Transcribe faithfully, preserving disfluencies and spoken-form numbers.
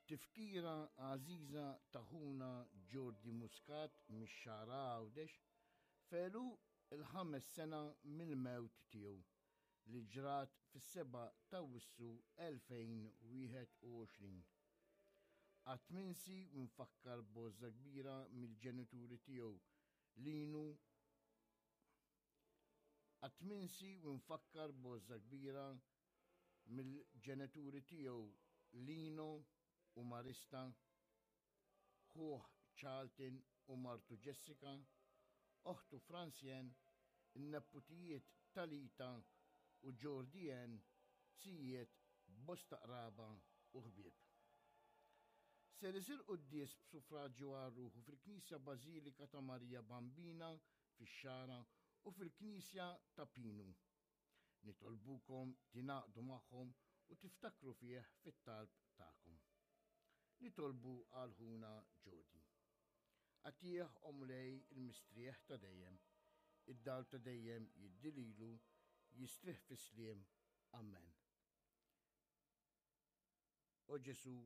Tifkira għażiża ta' ħuna Jordi Muscat mix-Xagħra Għawdex f'għeluq il-ħames sena mill-mewt tiegħu li ġrat fis-sebgħa ta' Awwissu elfejn u wieħed u għoxrin. Qatt minsi u nfakkar b'għożża kbira mill-ġenituri tiegħu Linu Qatt minsi u nfakkar b'għożża kbira mill-ġenituri tiegħu Lino u Marista, ħuh Charlton u martu Jessica, oħtu Francien, in-neputijiet Talita u Jordi Ann, zijiet, bosta qraba u ħbieb. Ser isir quddies b'suffraġġju għal ruħu fil-Knisja Bażilika ta' Marija Bambina fix-Xagħra u fil-Knisja ta' Pinu. Nitolbukom tingħaqdu magħhom u tiftakru fih fit-talb tagħkom. Nitolbu għal ħuna Jordi. Agħtih, o Mulej, il-mistrieħ ta' dejjem, id-dawl ta' dejjem jiddi lilu, jistrieħ fis-sliem. Amen. O Ġesu,